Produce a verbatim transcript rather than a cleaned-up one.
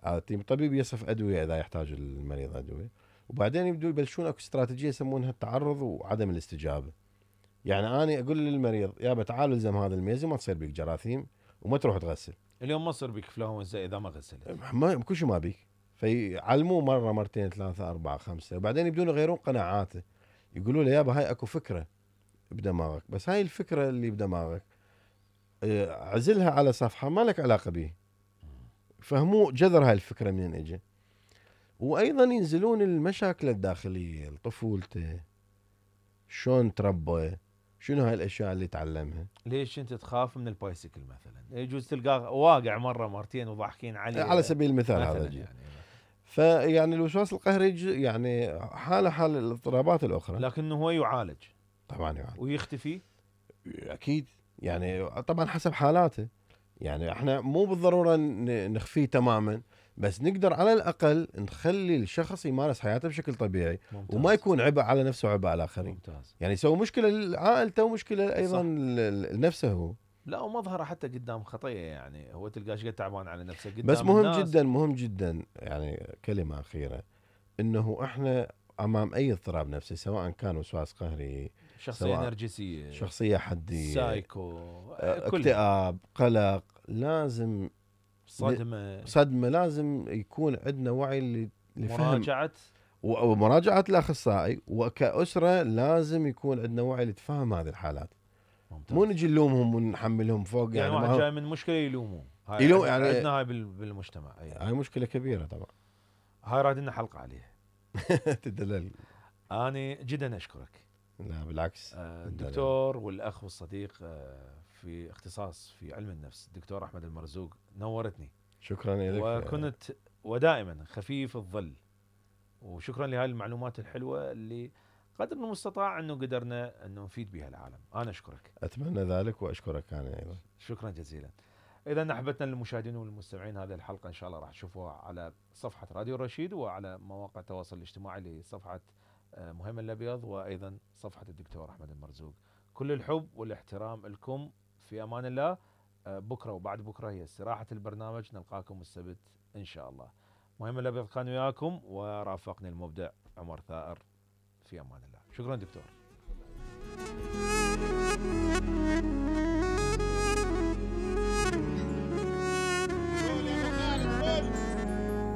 الطبيب يصف ادويه اذا يحتاج المريض ادويه، وبعدين يبدو يبلشون اكو استراتيجيه يسمونها التعرض وعدم الاستجابه. يعني انا اقول للمريض يابا تعال الزم هذا الميزه ما تصير بيك جراثيم وما تروح تغسل. اليوم ما تصير بيك فلونزا اذا ما غسلت. ما كل شيء ما بيك. فيعلموه مره مرتين ثلاثه اربعه خمسه، وبعدين يبدون يغيرون قناعاته. يقولوا له يابا هاي اكو فكره بدماغك، بس هاي الفكره اللي بدماغك عزلها على صفحه ما لك علاقه به. فهموا جذر هاي الفكره منين اجى. وايضا ينزلون المشاكل الداخليه، طفولته، شلون تربى، شنو هاي الاشياء اللي تعلمها. ليش انت تخاف من البايسكل مثلا؟ يجوز تلقاه واقع مره مرتين وضاحكين عليه على سبيل المثال هذا يعني. فيعني الوسواس القهري يعني حاله حال الاضطرابات الاخرى، لكنه هو يعالج. طبعا يعالج ويختفي اكيد، يعني طبعا حسب حالاته. يعني احنا مو بالضروره نخفيه تماما، بس نقدر على الاقل نخلي الشخص يمارس حياته بشكل طبيعي. ممتاز. وما يكون عبء على نفسه وعبء على الاخرين. ممتاز. يعني يسوي مشكله لعائلته ومشكله ايضا لنفسه هو. لا ومظهره حتى قدام خطيه، يعني هو تلقاه شقد تعبان على نفسه قدام بس مهم الناس. جدا مهم جدا يعني كلمه اخيره، انه احنا امام اي اضطراب نفسي سواء كان وسواس قهري، شخصيه نرجسيه، شخصيه حديه، سايكو، اكتئاب، قلق، لازم صدمه صدمه لازم يكون عندنا وعي لفهم مراجعه ومراجعه الاخصائي. وكاسره لازم يكون عندنا وعي لتفهم هذه الحالات. ممتاز. مو نجي نلومهم ونحملهم فوق. يعني, يعني واحد جاي من مشكله يلوموه، هاي يلوم يعني عندنا هاي بالمجتمع. أيه. هاي مشكله كبيره طبعا، هاي راد لنا حلقه عليها. تدلل. انا جدا اشكرك. لا بالعكس، الدكتور والاخ والصديق في اختصاص في علم النفس الدكتور احمد المرزوق، نورتني. شكرا لك. وكنت ودائما خفيف الظل، وشكرا لهذه المعلومات الحلوه اللي قدر المستطاع انه قدرنا انه نفيد بها العالم. انا اشكرك. اتمنى ذلك واشكرك انا ايضا. شكرا جزيلا. اذا احبتنا للمشاهدين والمستمعين، هذه الحلقه ان شاء الله راح تشوفوها على صفحه راديو الرشيد وعلى مواقع التواصل الاجتماعي لصفحه مهيمن الابيض وايضا صفحه الدكتور احمد المرزوق. كل الحب والاحترام لكم، في امان الله. بكره وبعد بكره هي استراحه البرنامج، نلقاكم السبت ان شاء الله. مهيمن الابيض كان وياكم ورافقني المبدع عمر ثائر. في امان الله. شكرا دكتور.